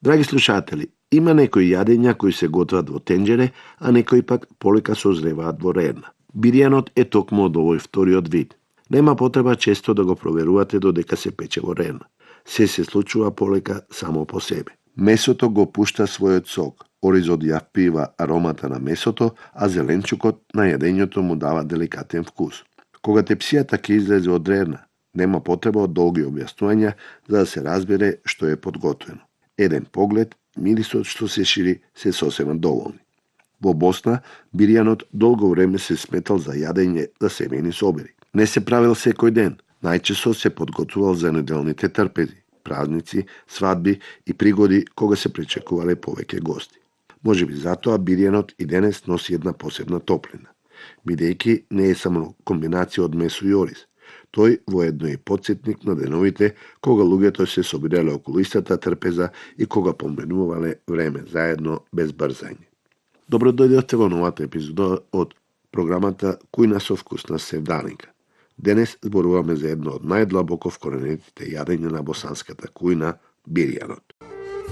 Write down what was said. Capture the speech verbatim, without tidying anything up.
Драги слушатели, има некои јадења кои се готват во тенџере, а некои пак полека созреваат во рерна. Биријанот е токму од овој вториот вид. Нема потреба често да го проверувате додека се пече во рерна. Се се случува полека само по себе. Месото го пушта својот сок, оризот ја впива аромата на месото, а зеленчукот на јадењето му дава деликатен вкус. Кога тепсијата ќе излезе од рерна, нема потреба од долги објаснувања за да се разбере што е подготвено. Еден поглед, мирисот што се шири се сосема доволни. Во Босна, биријанот долго време се сметал за јадење за семејни собери. Не се правил секој ден, најчесто се подготвувал за неделните трпези, празници, свадби и пригоди кога се причекувале повеќе гости. Можеби затоа биријанот и денес носи една посебна топлина, бидејќи не е само комбинација од месо и ориз. Тој воедно е потсетник на деновите кога луѓето се собирале околу истата трпеза и кога поминувале време заедно без брзање. Добро дојдовте во новата епизода од програмата Кујна со вкус на Севданика. Денес зборуваме за едно од најдлабоко вкоренетите јадења на босанската кујна, биријанот.